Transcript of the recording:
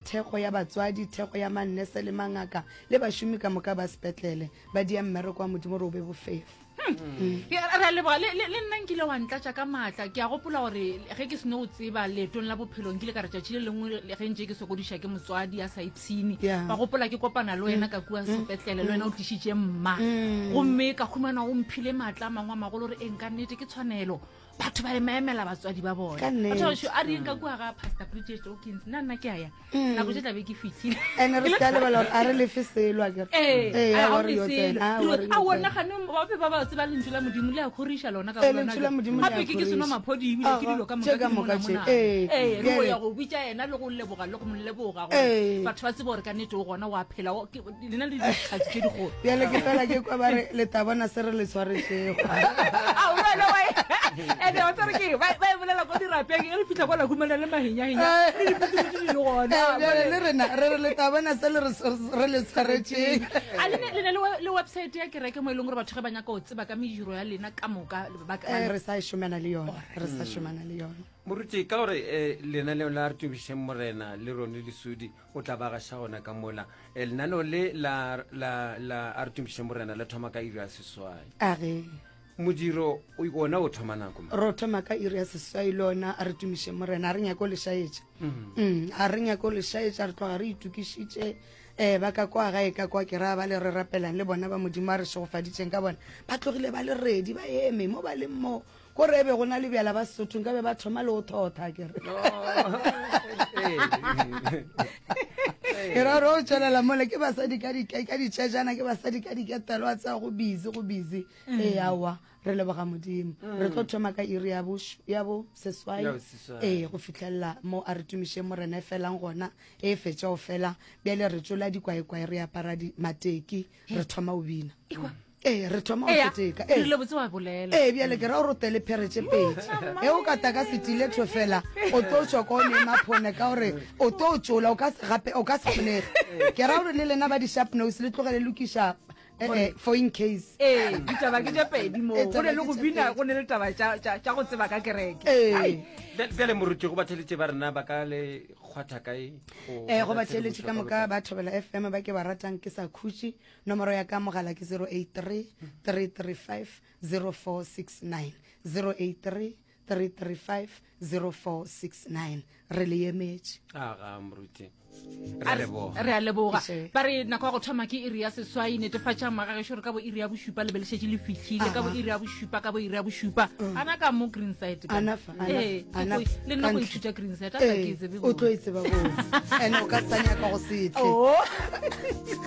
thekgo ya batswadi, thekgo ya mannese le mangaka le bašomi ka moka ba sepetlele. Ba dia mmereko wa Modimo gore o be bofefo. Hmm. Ke- re a leboga le le- le nna nkile wa ntlatša ka maatla ke a gopola gore ge ke seno go tseba leetong la bophelo nkile ka re tšatši le lengwe le- ge ntše ke sokodiša ke motswadi a sa ipshine Yeah. ba gopola ke kopana le wena ka kua sepetlele le wena o tlišitše mma gomme ka humana o mphile maatla a mangwe a magolo gore eng ka nnete ke tshwanelo batho ba emaemela batswadi ba bona Ka nnete. Batho ba bešo, a re yeng ka kua ga pastor bridget okins nna nna ke a ya Mm. nako tse tlabe ke fitlhile ene re se ka lebala gore a re lefe selo a kere Ee, Ee, a a ga wa re yo o tsena, a wa re yo a tsena. ona gane ba be ba ba tseba lentšu la modimo le a kgoriša lona ka Ee, bolona lentšu la Modimo le a gape ke ke seno kgoriša. maphodi ebile ke Aha, dilo ka tše moka ka ke moka tše, monamona ee. ee re go Bjale- ya go bitša yena le go leboga le go mo leboga gore Ee. batho ba tsebe gore ka nnete o gona wa phela o- ke- lena le dikgatsi tše digolo bjale ke fela ke kwa ba re le tla bona se re le tshwaretšego A, o wena wa e- ene wa tsare ke ba ba e bolela ko dirapeng e re fitlha kwa la humana le mahenyahenya le diphuthuphuthi di le gona Eh, bjale le rena re re le tla bona se le re re le tshwaretšeng a le ne le ne le we- le website ya kereke mo e leng gore batho ge ba nyaka go tseba ka mediro ya lena ka moka ba ka- Eh, re sa e šomana le yona re sa šomana le yona moruti ka gore um lenaneo la re tumišeng morena le rone lesodi o tla ba gaša gona ka mola Eh, lenaneo le la, la, la a re tumišeng morena le thoma ka iri ya seswai a ge modiro o- wona o thoma nako mang? ro thoma ka iri ya seswai le ona a re tumišeng morena a re nyako le šaetša Mm, a re nyako le šaetša re tloga re itokišitše um ba ka kwa gae ka kwa ke raya ba le re rapelang le bona ba modimo a re šegofaditšeng ka bona ba tlogile ba le redi ba eme mo ba leng mo ko re be go na le bjala ba sesotho nka be ba thoma le go thotha kere ke ra gore o tswelela mole ke basadi ka ditšejana ke basadi ka diketelo a tsaya go busy go busy mm. ee aowa re leboga modimo mm. re tlo thoma ka iri ya bo seswai ee go fitlhelela mo a re tumišeng morena e felang gona e fetša go fela bjale re tsola dikwaekwae re apara mateki re thoma o bina ee re thoma go keteka ee le botse wa bolela ee bjale ke ra gore o tele phere tše pedi e o ka taka setiletho fela o tlo tšwa ko o ne maphone ka gore o tlo tšola o ka se gape o ka se kgonege ke ra gore le lena ba di-sharp nose le tlogele lokiša eh, eh, for in case ee ditaba ke tše pedi moo Ee, go ne le taba go ke tše bina pedi. go ne le taba tša- tša tša go tseba ka kereke ee Bjale moruti go batheletše ba rena ba ka le kgwatha kae go ee go hwetša batheletše ka tshedimošo moka ba thobela fm ba ke ba ratang ke sa khutše Nomoro ya ka mogala ke 083 335 0469, 083 335 0469. Re le emetše. Aga moruti. Re a leboga. Re a leboga. Ke Ba re nako ya go thoma ke iri ya seswai netefatšang magagešo gore ka bo iri ya bošupa le be le šetše le fihlile ka bo iri ya bošupa ka bo iri ya bošupa ana ka mo green side ka. Ana fa, ana Ee, fa, ana ke fa. le nna go Ka ntle. ithuta green side a sa ke e Ee, tsebe o tlo botse. e tseba botse ene o ka sa nyaka go setle Oh.